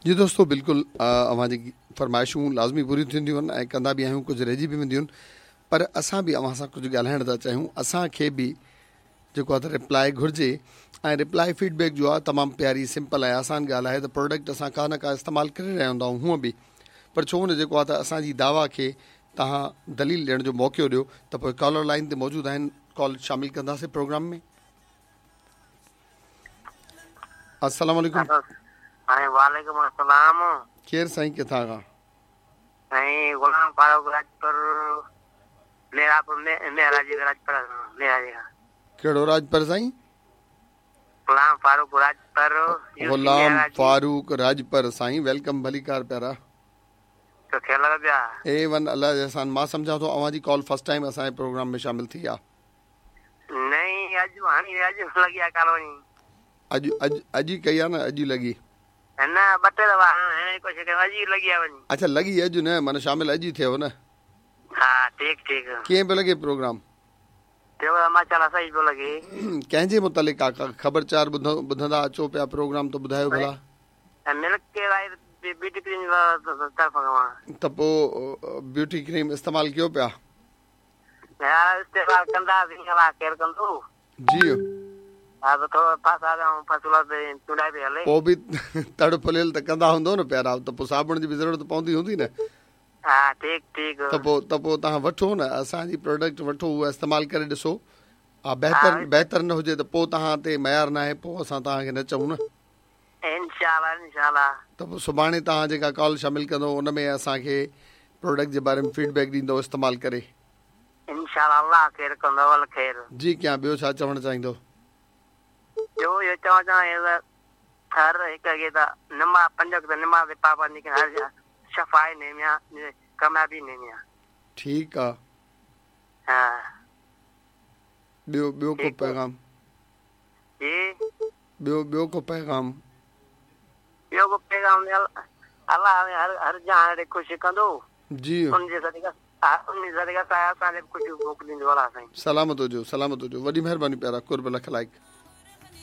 جي دوستو بلڪل اوهان جي فرمائشون لازمي پوريون ٿينديون آهن ۽ ڪندا به آهيون ڪجهه رهجي به وينديون آهن پر اسان به اوهان سان ڪجهه ڳالهائڻ ٿا چاهيون اسان کي به جيڪو آهي ته رپلاء گهرجي ۽ رپلاء فيڊ بيڪ جو آهي تمام پياري سمپل ۽ آسان ڳالهه آهي ته پروڊڪٽ اسان ڪا نه ڪا استعمال ڪري رهيا هوندا آهيون هونء به پر ڇو نه جيڪو آهي ته اسان جي دعويٰ کي توهان دليل ڏيڻ جو موقعو ڏيو ته پوء ڪالر لائن تي موجود آهن ڪال شامل ڪنداسين پروگرام ۾ السلام عليڪم سائين وعليڪم السلام ڪير سائين ڪٿان کان؟ سائين غلام فاروق راڄپر ميراپور ميراجي راڄپر ميراجي کان. ڪهڙو راڄپر سائين؟ غلام فاروق راڄپر غلام فاروق راڄپر سائين welcome ڀليڪار پيارا. تو خير لڳا پيا. اي ون الله جي احسان مان سمجهان ٿو اوهان جي ڪال فرسٽ ٽائيم اسان جي پروگرام ۾ شامل ٿي آ. نئين اڄ هاڻي اڄ لڳي آ ڪال وڃي. اڄ اڄ اڄ ئي ڪئي آ نه اڄ ئي لڳي. نه ٻه ٽي دفعا هڻڻ جي ڪوشش ڪئي اڄ ئي لڳي آ وڃي. اڇا لڳي اڄ نه معنيٰ شامل اڄ ئي ٿيو نه. ها ٺيڪ ٺيڪ. ڪيئن پيو لڳي پروگرام. پروگرام ماشاءالله صحيح پيو لڳي. ڪنهن جي متعلق آ ڪا خبر چار ٻڌندا اچو پيا پروگرام ته ٻڌايو ڀلا. ملڪ ڪي وائي بيوٽي ڪريم طرف کان. ته پو بيوٽي ڪريم استعمال ڪيو پيا. يار استعمال ڪنداسين الله خير ڪندو. جي. ها ته ٿورو ڦاسا پيا آهيون فصل تي چونڊائي پئي هلي. پوء به تڙ ڦليل ته ڪندا هوندو نه پيارا ته پوء صابڻ جي به ضرورت پوندي هوندي نه. ها ٺيڪ ٺيڪ. ته پوء ته پوء توهان وٺو نه اسان جي پراڊڪٽ وٺو اها استعمال ڪري ڏسو ها بهتر بهتر نه هجي ته پوء توهان تي ميار ناهي پوء اسان توهان کي نه چئون نه. انشاء الله انشاء الله. ته پوء سڀاڻي توهان جيڪا ڪال شامل ڪندو ان ۾ اسان کي پروڊڪٽ جي باري ۾ فيڊ بيڪ ڏيندو استعمال ڪري. انشاء الله الله خير ڪندو اول خير. جي ڪيان ٻيو ڇا چوڻ چاهيندو. ٻيو اهو چوڻ چاهيان ته هر هڪ کي ته نماز پنج وقت نماز جي پابندي ڪرڻ هر شفا انهي ۾ آ ڪاميابي انهي ۾ آ. ٺيڪ آ. ها. ٻيو ٻيو ڪو پيغام. جي. ٻيو ٻيو ڪو پيغام. ٻيو ڪو پيغام الله هر هر جهان کي خوش ڪندو. جي. ان جي صدقي ان جي صدقي اسان کي به خوشيون موڪليندو الله سائين. سلامت هجو سلامت هجو وڏي مهرباني پيارا قرب لک لائق.